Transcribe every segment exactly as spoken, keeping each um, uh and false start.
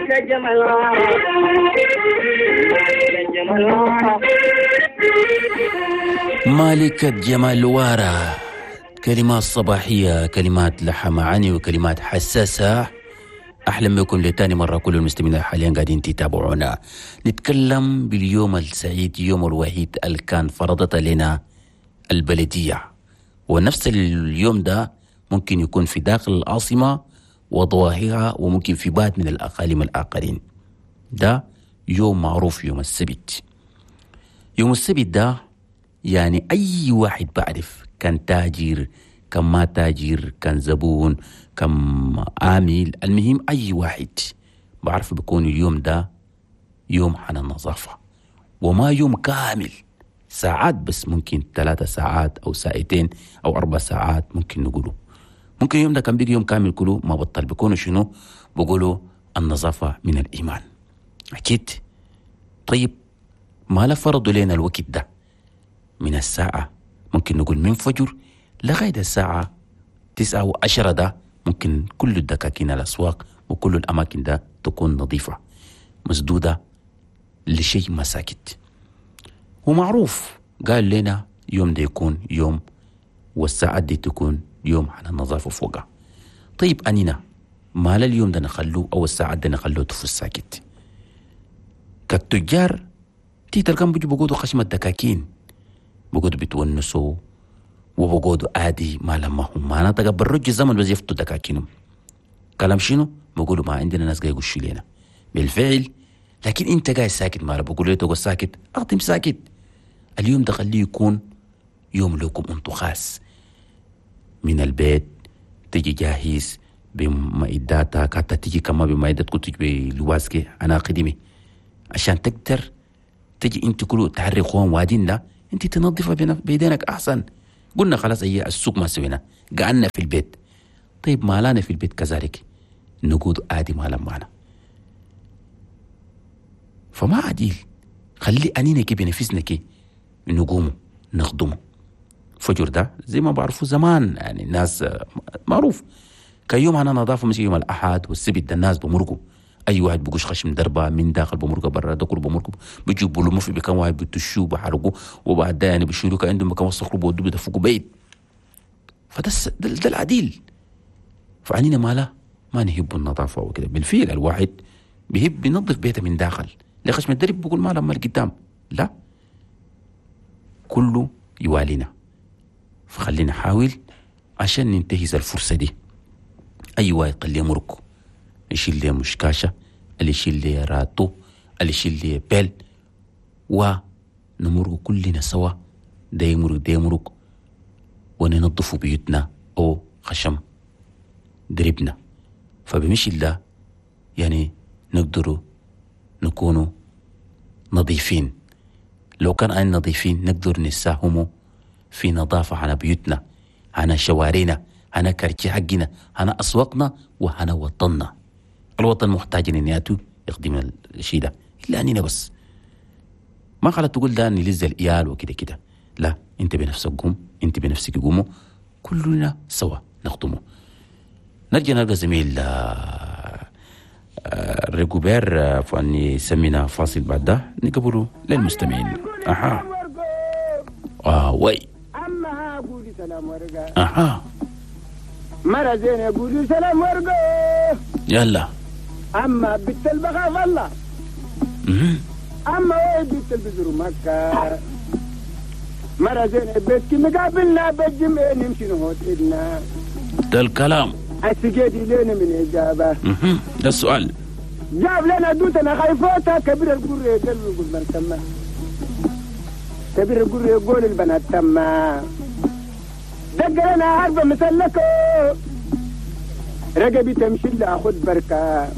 مالك الجمال مالك الجمال. مالكة جمال وارا، كلمات صباحية، كلمات لها معاني وكلمات حساسة. أحلم بكم لتاني مرة كل المستمعين حاليا قاعدين تتابعونا. نتكلم باليوم السعيد، يوم الوحيد اللي كان فرضت لنا البلدية، ونفس اليوم ده ممكن يكون في داخل العاصمة وضواحيها، وممكن في بعض من الأقاليم الآخرين. ده يوم معروف، يوم السبت. يوم السبت ده يعني أي واحد بعرف، كان تاجر كان ما تاجر، كان زبون كان عامل، المهم أي واحد بعرف بيكون اليوم ده يوم عن النظافة، وما يوم كامل، ساعات بس، ممكن ثلاثة ساعات أو ساعتين أو أربع ساعات ممكن نقوله. ممكن يوم ده كان بيجي يوم كامل كله ما بطل، بيكونوا شنو؟ بيقولوا النظافة من الإيمان. أكيد. طيب ما لا فرضوا لنا الوقت ده من الساعة، ممكن نقول من فجر لغاية الساعة تسعة وعشرة، ده ممكن كل الدكاكين الأسواق وكل الأماكن ده تكون نظيفة مسدودة لشيء ما ساكت. ومعروف قال لنا يوم ده يكون يوم، والساعات دي تكون يوم على النظافة فوقها. طيب أنينا ما اليوم ده نخلوه أو الساعات ده نخلوه تفوز ساكت؟ كالتجار تي تلقاهم بيجوا بيقعدوا خشم الدكاكين، بيقعدوا بيتونسوا وبقعدوا عادي ما لما هم ما نطق بالرج الزمن بس يفتوا دكاكينهم. كلام شنو؟ بيقولوا ما عندنا ناس قاعد يقشوا لنا بالفعل. لكن انت قاعد ساكت، ما بقول له تقعد ساكت، اخدم ساكت. اليوم ده خليه يكون يوم لكم انتو خاص، من البيت تجي جاهز بمعداتك، حتى تجي كمان بمعداتك تجي بلواسكي انا قديمي عشان تقدر تجي انت كله تحري خوان وادين، لا انت تنظفها بيدينك احسن. قلنا خلاص هي السوق ما سوينا، قعدنا في البيت. طيب ما لنا في البيت كذلك نقود عادي ما لما معنا، فما عديل. خلي أنينا كي بنفسنا كي نقوموا نخدمه. فجر ده زي ما بعرفوا زمان، يعني الناس معروف كيوم أنا نظافة، مش يوم الأحد والسبت ده الناس بمرقوا، أي واحد بقوش خشم دربة من داخل بمرقة برا، ده كله بمرقوا، بيجيبوا له في بكم واحد بتشوا بحرقوا، وبعد ده يعني بيشيلوا كان عندهم مكان وسخوا بودوا بدفقوا بيت. فده ده, ده العديل. فعنينا ماله ما نهب النظافة وكده. بالفعل الواحد بيهب بينظف بيته من داخل، لخشم الدرب بيقول ما لما قدام، لا كله يوالينا. فخلينا نحاول عشان ننتهز الفرصة دي. أي واحد قال لي مركو يشيل لي مشكاشة، اللي يشيل لي راتو، اللي يشيل لي بيل، ونمرق كلنا سوا، ده يمرق ده يمرق، وننظف بيوتنا أو خشم دربنا. فبمشي الله يعني نقدروا نكونوا نظيفين. لو كان أنا نظيفين نقدر نساهموا في نظافة على بيوتنا، على شوارعنا، على كركي حقنا، على أسواقنا، وعلى وطننا. الوطن محتاج إن ياتوا يخدم الشيء ده، إلا أننا بس ما خلت تقول ده أني لز الإيال وكده كده، لا أنت بنفسك قوم، أنت بنفسك قوموا، كلنا سوا نخدمه. نرجع نلقى زميل ريكوبير فاني سمينا فاصل بعد ده نقبله للمستمعين. أها آه وي أما قولي سلام ورقة. أها مرة زين يقولي سلام ورقة. يلا أما بنت البغاء الله، أما وين بنت البزر مكة. مرة زين بيتك مقابلنا بالجمع نمشي نهوت إلنا. ده الكلام السجادي لنا من إجابة. ده السؤال جاب لنا دوتنا خايفوتا كبير القرية قلب يقول من تما، كبير القرية يقول البنات تما، دق لنا عربة مسلكة رقبي تمشي لأخذ بركة.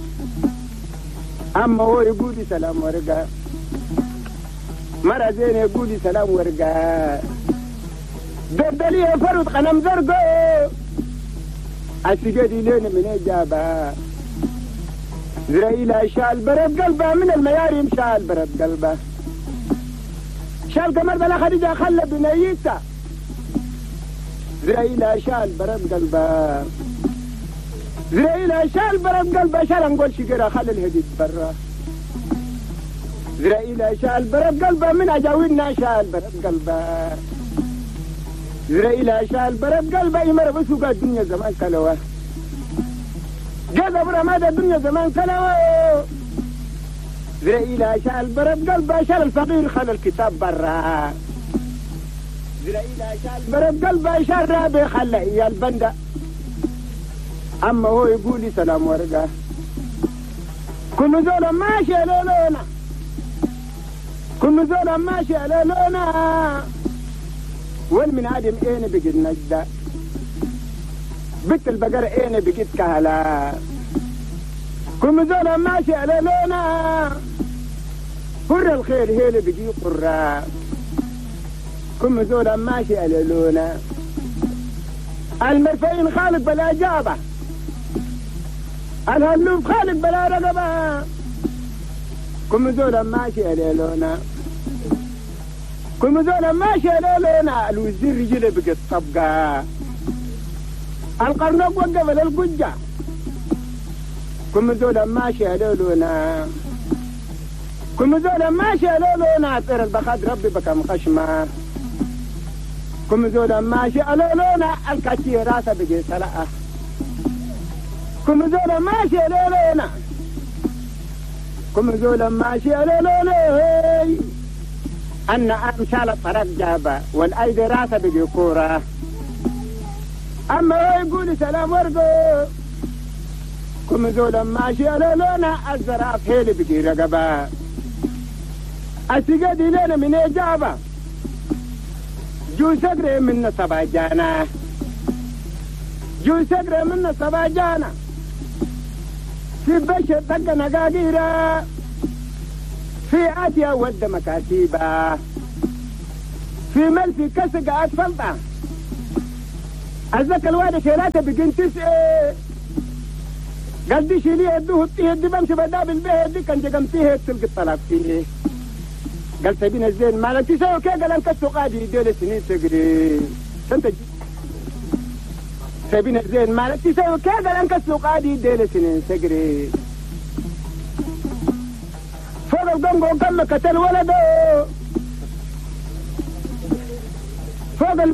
أما هو يقولي سلام ورقة، مرة زين يقولي سلام ورقة، دردلي فرد قنم زرقة السجادي لنا من إجابة. زرائيل شال برد قلبه من المياريم، شال برد قلبه شال قمر بلا خديجة خلى بنيته. زرائيل شال برد قلبه زرائيل شال برد قلبه شال نقول شجرة خلي الهديد برا زرائيل شال برد قلبه من أجاوينا شال برد قلبه زرائيل شال برد قلبه يمر بسوق الدنيا زمان كلوه جذب رماد الدنيا زمان كلوه زرائيل شال برد قلبه شال الفقير خلى الكتاب برا زرائيل شال برد قلبه شال رابي خلى إياه البندة أما هو يقول لي سلام ورقة كل زول ماشي على لونا كل زول ماشي على لونا والمن عدم اين بقيت نجدة بنت البقرة اين بقيت كهلا كل زول ماشي على لونا قر الخير هيل بقي قرة كل زول ماشي على لونا المرفعين خالق بلا جابه الهلوب خالق بلا رقبة كم زول ماشي على لونا كم زول ماشي على لونا الوزير رجله بقت طبقة القرنق وقف للقجة كم زول ماشي على لونا كم زول ماشي على لونا طير البخاد ربي بكم خشمة كم زول ماشي على لونا الكاتي راسه بقي سلقة كم زول ماشي على لونا كم زول ماشي على لونا أن أمشال الطرق جابة والأيدي راسه بقي كورة أما هو يقول سلام ورقو كم زول ماشي على لونا الزراف هيلي بقي رقبة أسيقدي لنا من إجابة جو سقري من سبع جانا جو سقري من سبع جانا في بشر طق نقاقيرة في آتيا ود مكاتيبة في ملفي كسق أسفلطة أزك الواد شيلاته بقين تسعة قال دي شيليه يدوه الطيه دي بمشي بداب البيه دي كان جقمتيه تلقي الطلاق فيه قال سبين الزين مالك تسوي كي قال انك قادي ديل سنين تقري سنت سبين الزين مالك تسوي كي قال انك قادي ديل سنين تقري فوق القنقو كم قتل ولده فوق